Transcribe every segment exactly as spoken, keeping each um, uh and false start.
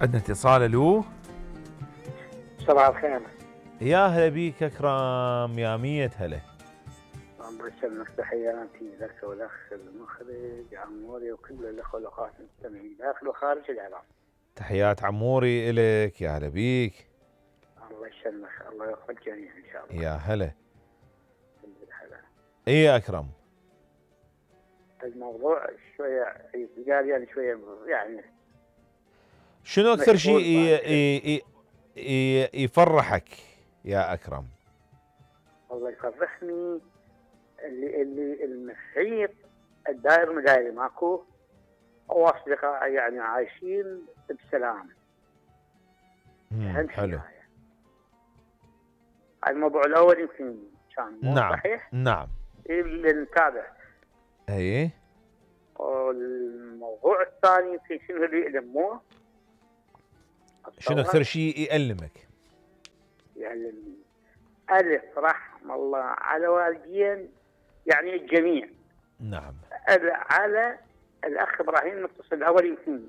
عندنا اتصال. الو صباح الخير. يا هلا بيك اكرم، يا مية هلا. الله يسلمك، تحياتي لك والاخ المخرج عموري وكل الاخوه والاخوات المستمعين داخل وخارج الاعلام. تحيات عموري الك، يا هلا بيك. الله يسلمك، الله يوفق الجميع ان شاء الله. يا هلا. هلا. اي يا اكرم، الموضوع شويه قال يعني شويه يعني شنو اكثر شيء مشغول يفرحك يا اكرم؟ الله يفرحني اللي اللي المحيط الدائر مداير ماكو واصدقاء يعني عايشين بسلام. مم، حلو. الموضوع الاول يمكن كان مو نعم صحيح، نعم اللي نتابع. اي. والموضوع الثاني يمكن شنو اللي يألموه؟ شنو اكثر شيء يألمك؟ يألمني ألف رحم الله على والدين، يعني الجميع. نعم. على الأخ إبراهيم المتصل الأول يمكن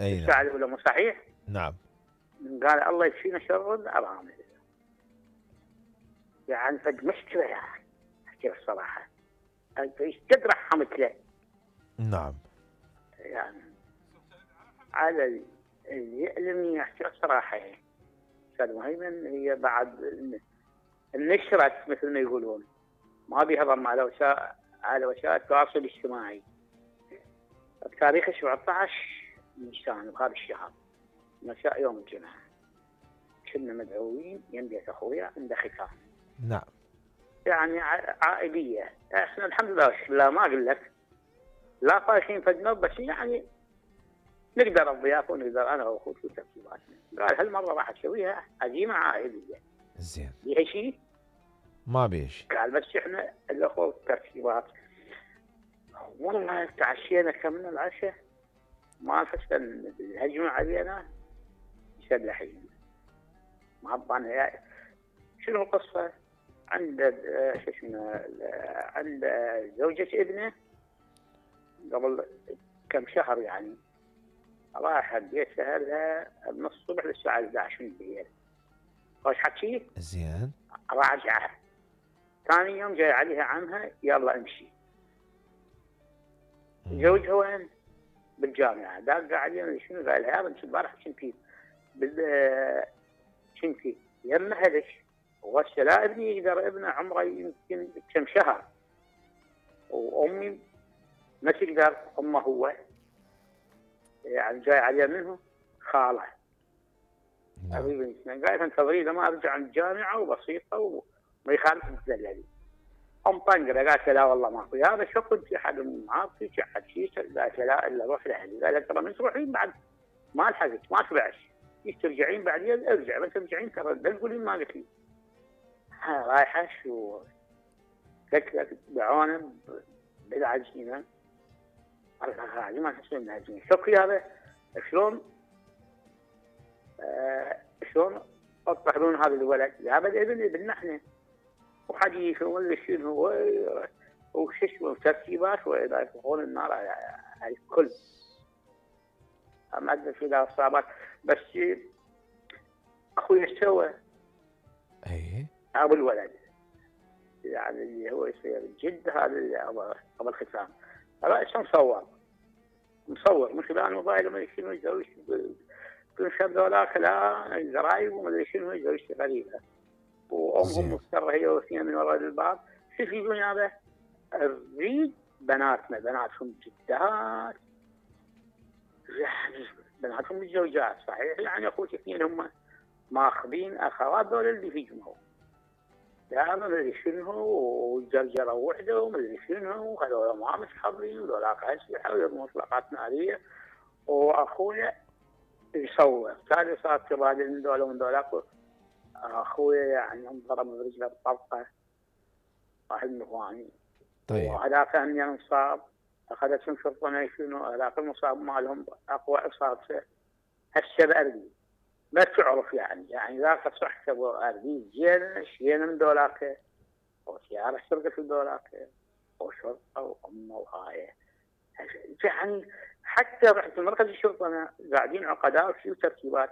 أي الساعة نعم. الأولى مو صحيح؟ نعم. قال الله يكفينا شر الأرامل. يعني فد مشكلة يا أخي، أحكي الصراحة أنت إيش قد رحمت له؟ نعم. يعني على اللي يألمني أحكي الصراحة يعني أستاذ مهيمن، هي بعد النشرة مثل ما يقولون، ما بيها ضم على وسائل على وسائل التواصل الاجتماعي. بتاريخ سبعة عشر نيسان بهذا الشهر مساء يوم الجمعة كنا مدعوين يم بيت أخويا عند ختام. نعم. يعني عائلية، احنا الحمد لله لا ما أقول لك لا طايحين فدنا، بس يعني نقدر الضيافة ونقدر أنا وأخوي في ترتيباتنا. قال هالمرة راح أسويها عزيمة عائلية. زين. بيها شيء؟ ما بيها شيء. قال بس احنا الأخوة والترتيبات. والله تعشينا كملنا العشاء ما فشل الهجمة علينا مسلحين. ما أبغى شنو القصة؟ عند شو اسمه عند زوجة ابنه قبل كم شهر يعني، راح البيت سهلها من الصبح للساعة إحدى عشر من الليل. خوش حكي؟ زين. راجعة ثاني يوم جاي عليها عمها يلا امشي. زوجها وين؟ بالجامعة. داق علينا شنو؟ قال لها انت البارح كنتي بال كنتي يم اهلك وهسه لا ابني يقدر، ابنه عمره يمكن كم شهر وامي ما تقدر. امه هو يعني جاي عليها منه خاله. حبيبي قال انتظري لما ارجع من الجامعه وبسيطه وما يخالف تدللي. ام طنقره قالت لا والله ماكو. هذا شو كنت حد معاطي حد شيء؟ قالت لا الا روح لاهلي. قالت ترى من تروحين بعد ما لحقت ما تبعش، ترجعين بعدين ارجع، بس ترجعين ترى لا تقولين ما قلت لي. ها رايحه شو تكلك دعونا بالعجينه. الله ما تحسون العجينه شوفي هذا شلون آه شلون اطلعون هذا الولد هذا الابن ابننا احنا وحديث ولا شنو وش اسمه ترتيبات واذا يطلقون النار على الكل. ما ادري في ذا اصابات بس اخوي سوى اي ابو الولد يعني اللي هو يصير جد هذا اللي ابو الختام. رأسه مصور مصور من خلال الموبايل ما شنو يسوي كل شاب ذولاك لا الزرايب وما ادري شنو يسوي غريبه. وامهم مستره هي واثنين من وراء الباب. شوف يقولون هذا نريد بناتنا بناتهم جدات يعني بناتهم متزوجات صحيح يعني اخوتي اثنين هم ماخذين اخوات ذول اللي في جمهور لا ما ادري شنو وجرجره وحده وما ادري شنو وهذول ما متحضرين وذولاك اسلحه ومطلقات ناريه. واخويا يصور ثاني صار تبادل من ذولا ومن ذولاك. اخويا يعني انضرب برجله بطلقه واحد من اخواني. طيب. وهذاك اني انصاب اخذتهم شرطه ما شنو هذاك المصاب مالهم اقوى اصابته هسه باردي ما تعرف يعني يعني ذاك صح ابو اردي زين شينا من ذولاك وسياره سرقت من ذولاك وشرطه وامه وهاي يعني حتى رحت مركز الشرطه انا قاعدين عقداء وفي ترتيبات،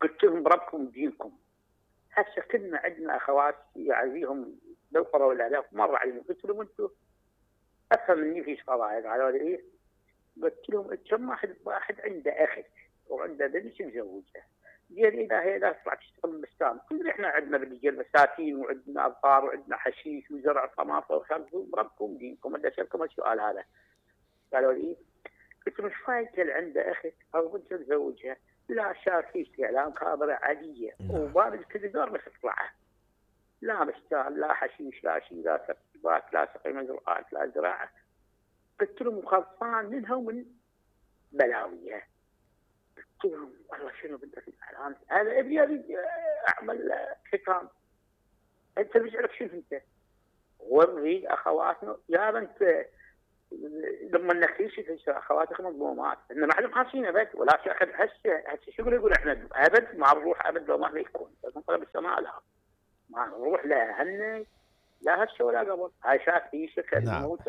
قلت لهم بربكم دينكم. هسه كنا عندنا اخوات يعزيهم بالقرى والعراق مر عليهم، قلت لهم انتم افهم مني في قضايا، قالوا لي ايه؟ قلت لهم كم واحد واحد عنده اخت وعنده بنت مزوجه، زين اذا هي لا تطلع تشتغل بالبستان، كلنا احنا عندنا بالرجال بساتين وعندنا ابقار وعندنا حشيش وزرع طماطم وخبز، بربكم دينكم. بدي اسالكم السؤال هذا. قالوا لي قلت لهم ايش فايده اللي عنده اخت او بنت مزوجها؟ لا شاف في اعلام خابره عاديه وباب الكذبار بس تطلعه، لا بستان لا حشيش لا شيء لا ترتيبات لا سقي مزروعات لا زراعه. قلت لهم خلصان منها ومن بلاويها. قلت لهم والله شنو بدك الاعلام؟ هذا ابي اريد اعمل ختام. انت بيجعلك شنو انت؟ ونريد اخواتنا يا بنت لما نخيش في اخواتك مظلومات ان ما حد محاسين ابد ولا شيء. اخذ هسه هسه شو يقول احنا ابد ما نروح ابد لو ما يكون نطلب السماء لها ما نروح لا هن لا هسه ولا قبل. هاي شاف في شكل نعم. موت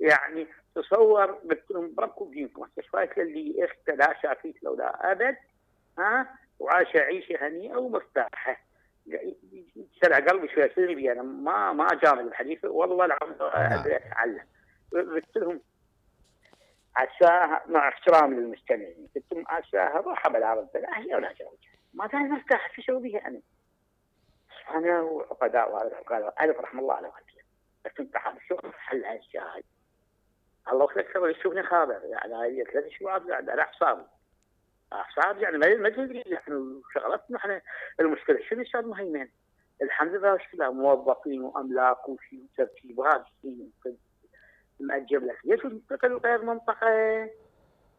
يعني تصور. قلت لهم بربكم دينكم هسه شفايت اللي اخت لا شافيت لو لا ابد ها وعايشه عيشه هنيئه ومرتاحه. سرع قلبي شوي سلبي انا ما ما جامل الحديث والله العظيم اتعلم. قلت لهم عساها مع احترام للمستمعين قلت لهم عساها روح بالعرض لا هي ولا زوجها ما كان مرتاح في شو بها انا انا وعقداء وهذا الف رحم الله على والدي. بس انت حاب شو حل هالشاي الله يخليك سوي يشوفني خابر يعني هي ثلاث شهور قاعد على اعصابي اعصاب يعني ما تدري نحن شغلتنا احنا المشكله شنو استاذ مهيمن؟ الحمد لله مشكله موظفين واملاك وشيء وترتيب وهذا الشيء مأجب لك ليش تنتقل غير منطقه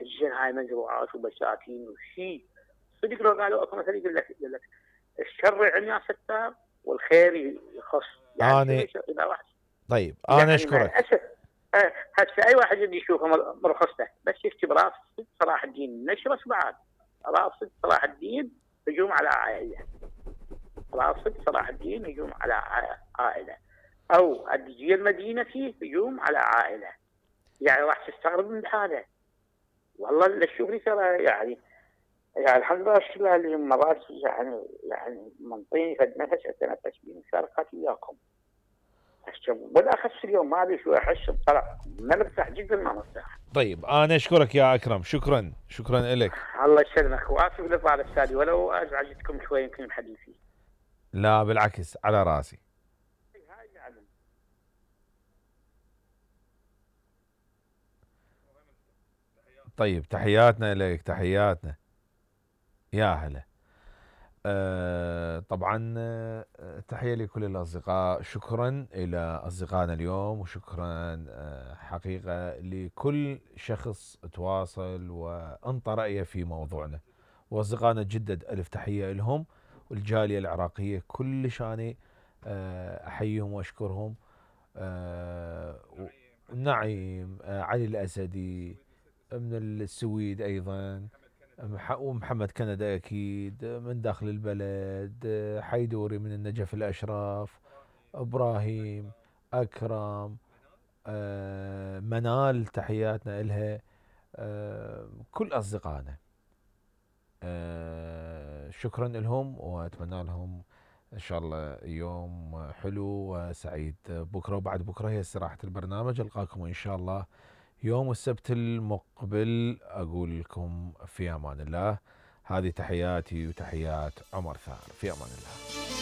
الجن هاي مزروعات وبساتين وشيء صدق لو قالوا اكو مثل يقول لك يقول لك الشر عنا ستار والخير يخص يعني اذا واحد طيب انا يعني اشكرك. هسه اي واحد يجي يشوفه مرخصته بس يكتب راس صلاح الدين نشره بعد راس صلاح الدين هجوم على عائله راس صلاح الدين هجوم على عائله او الدجيل المدينه فيه هجوم على عائله يعني راح تستغرب من هذا والله اللي الشغل ترى يعني يعني الحمد لله الشغل اللي مرات يعني يعني منطيني فد نفس اتنفس بيه مشاركات وياكم بالاخص اليوم ما ادري شو احس بطلع ما مرتاح جدا ما مرتاح. طيب انا اشكرك يا اكرم شكرا شكرا لك. الله يسلمك واسف لطالع السادي ولو ازعجتكم شوي يمكن بحديثي. لا بالعكس على راسي. طيب تحياتنا لك تحياتنا يا هلا. أه طبعا أه تحية لكل الأصدقاء شكرا إلى أصدقائنا اليوم وشكرا أه حقيقة لكل شخص تواصل وانطى رأيه في موضوعنا وأصدقائنا جدد ألف تحية لهم والجالية العراقية كلش أنا أه أحييهم وأشكرهم. أه نعيم أه علي الأسدي من السويد أيضا ومحمد كندا أكيد من داخل البلد حيدوري من النجف الأشراف إبراهيم أكرم آه منال تحياتنا إلها آه كل أصدقائنا آه شكرا لهم وأتمنى لهم إن شاء الله يوم حلو وسعيد. بكرة وبعد بكرة هي استراحة البرنامج ألقاكم إن شاء الله يوم السبت المقبل أقول لكم في أمان الله. هذه تحياتي وتحيات عمر ثار في أمان الله.